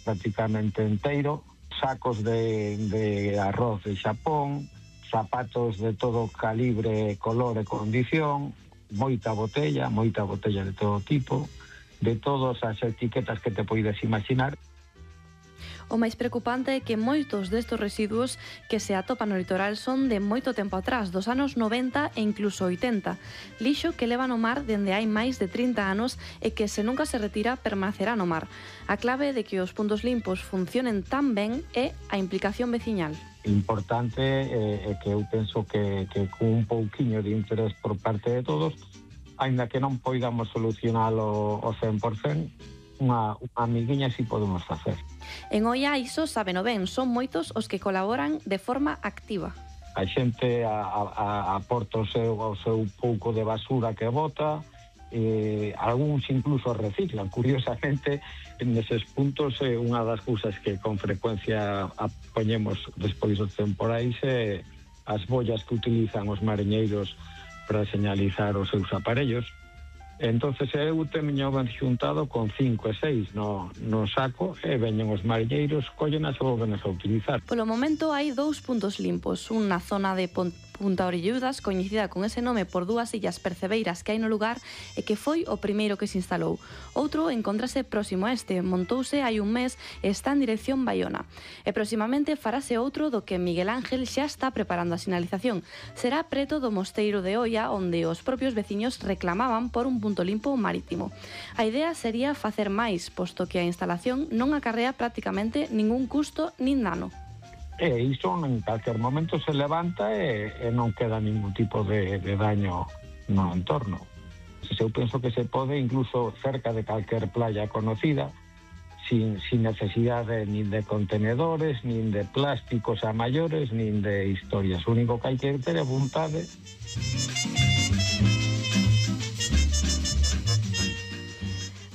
prácticamente enteiro, sacos de arroz de Xapón, zapatos de todo calibre, color e condición, moita botella de todo tipo, de todas as etiquetas que te poides imaginar. O máis preocupante é que moitos destes residuos que se atopan no litoral son de moito tempo atrás, dos anos 90 e incluso 80. Lixo que leva no mar dende hai máis de 30 anos e que se nunca se retira permanecerá no mar. A clave de que os puntos limpos funcionen tan ben é a implicación veciñal. Importante é que eu penso que con un pouquiño de interés por parte de todos, aínda que non poidamos solucionalo ao 100%, unha amiguiña si podemos facer. En Oia iso sabeno ben, son moitos os que colaboran de forma activa. A xente aporta o seu pouco de basura que bota, algúns incluso reciclan. Curiosamente, neses puntos, unha das cousas que con frecuencia poñemos despois dos temporais é as bollas que utilizan os mariñeiros para señalizar os seus aparellos. Entonces eu teño xuntado con 5 e 6 no saco e veñen os mariñeiros, collenas e volvenas a utilizar. Polo momento hai 2 puntos limpos, un na zona de Punta Orelludas, coñecida con ese nome por 2 illas percebeiras que hai no lugar e que foi o primeiro que se instalou. Outro encóntrase próximo a este, montouse hai un mes e está en dirección Baiona. E próximamente farase outro do que Miguel Ángel xa está preparando a sinalización. Será preto do Mosteiro de Oia, onde os propios veciños reclamaban por un punto limpo marítimo. A idea sería facer máis, posto que a instalación non acarrea prácticamente ningún custo nin dano. E iso en calquer momento se levanta e non queda ningún tipo de daño no entorno. Eu penso que se pode incluso cerca de calquer playa conocida, sin necesidade nin de contenedores, nin de plásticos a maiores, nin de historias. O único que hai que ter é vontade.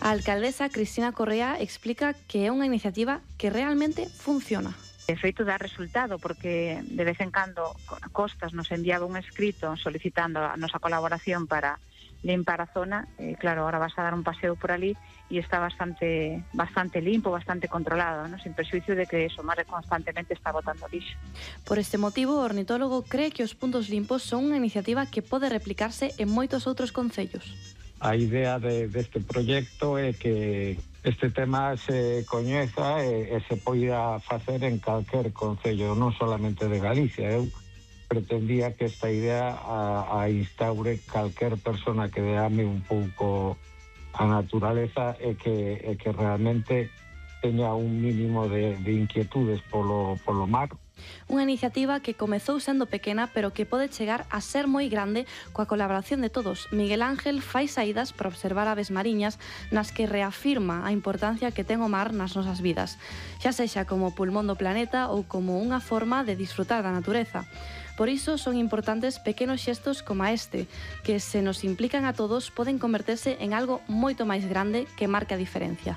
A alcaldesa Cristina Correa explica que é unha iniciativa que realmente funciona. De feito dá resultado porque de vez en cando Costas nos enviaba un escrito solicitando a nosa colaboración para limpar a zona. Claro, ahora vas a dar un paseo por ali e está bastante limpo, bastante controlado, ¿no? Sin perxuicio de que o mar constantemente está botando lixo. Por este motivo, o ornitólogo cree que os puntos limpos son unha iniciativa que pode replicarse en moitos outros concellos. A idea deste proxecto é que este tema se coñeza e se poida facer en calquer concello, non solamente de Galicia. Eu pretendía que esta idea a instaure calquer persona que ame un pouco a naturaleza e que realmente teña un mínimo de inquietudes polo mar. Unha iniciativa que comezou sendo pequena pero que pode chegar a ser moi grande coa colaboración de todos. Miguel Ángel fai saídas para observar aves mariñas nas que reafirma a importancia que ten o mar nas nosas vidas, xa sexa como pulmón do planeta ou como unha forma de disfrutar da natureza. Por iso son importantes pequenos xestos como este, que se nos implican a todos poden converterse en algo moito máis grande que marque a diferencia.